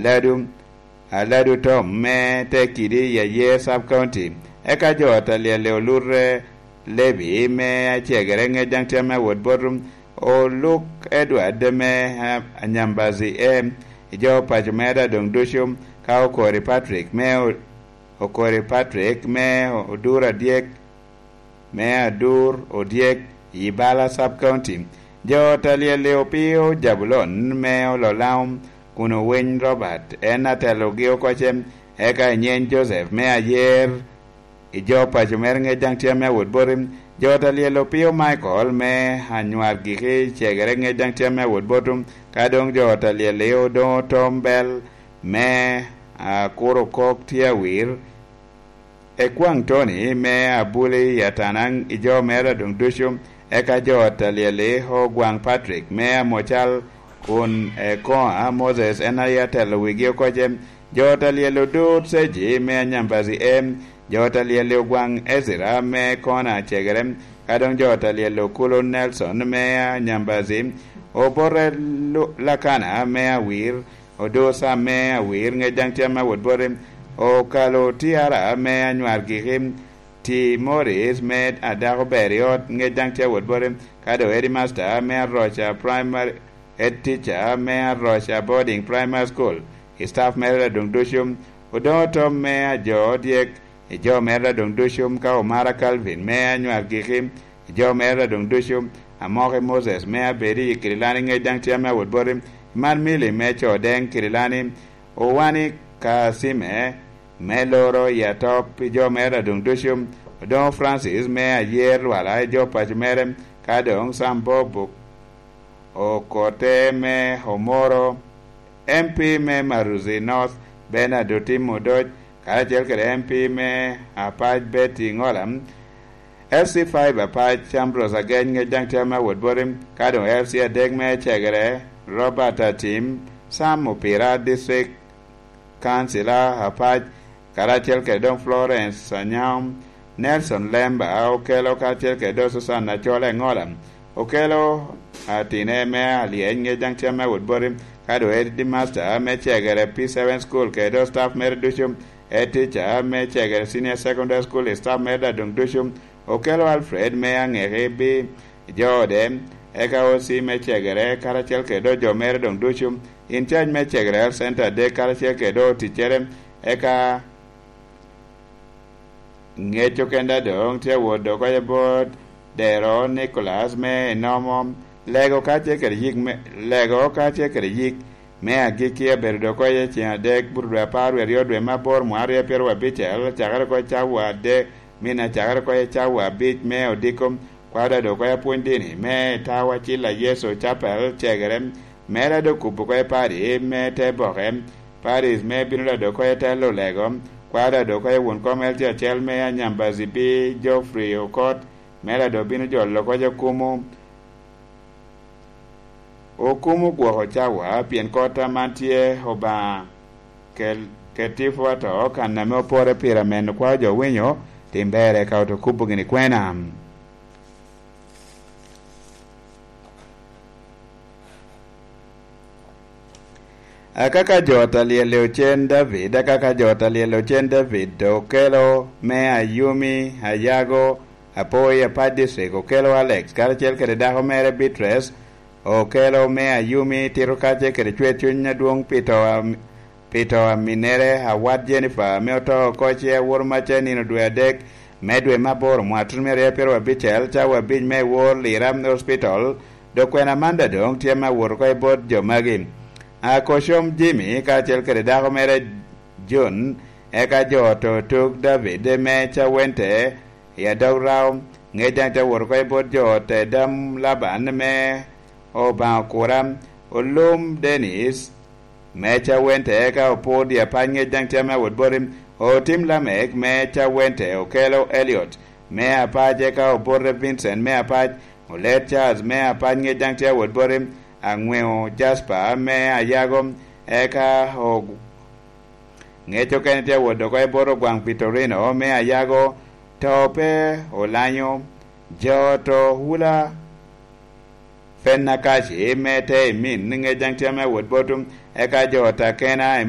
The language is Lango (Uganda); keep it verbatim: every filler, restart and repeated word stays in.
Aladu, Aladu Tom me Tekidi i Ayer Sub County. Eka jo a Talyel-li olute Lebi me Acegere, ŋec daŋ tye ame awot bot Oluk Edward me, ah, Anyambazi e, i jo paco mere doŋ ducu, ka Okori Patrick me O-, Okori Patrick me Odur Adyek, me Adur Odyek i Bala Sub County. Jo Talyel-li opio Jabulon me Ololao, kun Owiny Robert en atelogi oko ce, eka Inyeny Joseph me Ayer, i jo paco mere ŋec daŋ tye ame awot boti. Jo Talyel opio Michael me Anywar Giki Cegere ŋec daŋ tye ame awot boti, ka doŋ jo Talyel-li odoŋo Tom Bel me Akuro Kok tye awir, Ekwaŋ Tony me Abuli i Atanaŋ i jo mere doŋ ducu, eka jo Talyel-li Ogwaŋ Patrick me Amocal, kun Ekoa Moses en aye atelo wigi oko ce. Jo Talyel Odur Seji me Anyambazi e, jo Talyel Ogwaŋ Ezra me Kona Cegere, ka doŋ jo Talyel Okulu Nelson me Anyambazi, Obote Lu-, Lakana me Awir, Odur Sam me Awir ŋec daŋ tye ame awot boti, Okalo Tiara me Anywar Giki, Ti Morris me Adako Ber i Ot ŋec daŋ tye awot boti, ka doŋ Headmaster me Aroca Primary, Head Teacher me Aroca Boarding Primary School, i staff mere doŋ ducu, Odoŋo Tom me Ajo Dyek, i jo mere doŋ ducu, ka Omara Calvin me Anywar Giki, i jo mere doŋ ducu, Amoki Moses me Abedi i Kirilani ŋec daŋ tye ame awot boti, Man Mili me Codeŋ Kirilani, Owani Kasime me Loro i Atop, i jo mere doŋ ducu, Odoŋo Francis me Ayer Lwala i jo paco mere, ka doŋ Sam Bob Okote me Omoro, M P me Maruzi North, Bernard Otim Odoc, karacel kede M P me Apac Betty Ngola, L C five Apac Ambrose Ageny ŋec daŋ tye ame awot boti, ka doŋ L C adek me Cegere, Robert Atim, Sam Opira, District Councilor Apac, karacel kede doŋ Florence Anyam, Nelson Lemba Okelo, karacel kede doŋ Susan Acol Engola Okelo, atine me Alyeny ŋec daŋ tye ame awot boti, ka doŋ Headmaster me Cegere P seven School kede doŋ staff mere ducu, Head Teacher me Cegere Senior Secondary School, staff mere daŋ doŋ ducu, Okelo Alfred me Aŋeki bi jo ode, eka O C me Cegere, karacel kede doŋ jo mere doŋ ducu, in charge me Cegere Health Center adek, karacel kede doŋ oticcere, eka ŋec okenda doŋ tye awot doŋ oko bot Dero Nicholas me Enomo, Lego kacel kede yik me, Lego kacel kede yik me agikki abedo doŋ oko i ceŋ adek, buto dwe apar wie aryo dwe me aboro mwaka aryo pyeraryo abicel, cakere oko i cawa adek, min acakere oko i cawa abic me odiko, kwaro daŋ doŋ oko apwony dini me Tawa Cilla Yecu Chapel Cegere, mere daŋ doŋ kubo oko i pari me te boke, paris me bino daŋ doŋ oko i telo Lego, kwaro daŋ doŋ oko i won kom L C acel me Anyambazi bi Geoffrey Okot, mere daŋ doŋ bino jolo oko i Okumu, Okumu gwoko cawa, pien kop a man tye Obaŋa kel-, ketifu ato, kan ame opore pire ameno kwao jo winyo, tim berre ka oto kubo gini kwena. Akaka jo a talyel i ocen David, akaka jo a talyel i ocen David, okelo me Ayumi, Ayago, Apoi, Apac District, okelo Alex, karacel kede dako mere Beatrice, okelo me Ayumi, tito kacce kede cwer cuny adwoŋ pi to a, pi to a minnere, awat Jennifer, ame oto oko ce awoto macce nino dwe adek me dwe me aboro mwaka tutumia aryo pyeraryo abicel, cawa abic me wor Lira Hospital, dok kwena man daŋ doŋ tye me awot oko i bot jo magi. Akocom Jimmy, kacel kede dako mere Jun, eka jo oto tuk David me Cawente i Adog Rao, ŋec daŋ te wot oko i bot jo ot Edam Laban me Obaŋa Okura, Olum Dennis me Cawente, eka Opur Dye Apac, ŋec daŋ tye ame awot boti, Otim Lamek me Cawente, Okelo Eliot me Apac, eka Obote Vincent me Apac, Olet Charles me Apac, ŋec daŋ tye awot boti, Aŋweo Jasper me Ayago, eka o-, ŋec okene tye awot oko i bot Ogwaŋ Victorino me Ayago, to pe olanyo, jo to hula Fenakaci me te i min, ŋec daŋ tye ame awot boti, eka jo ta kena i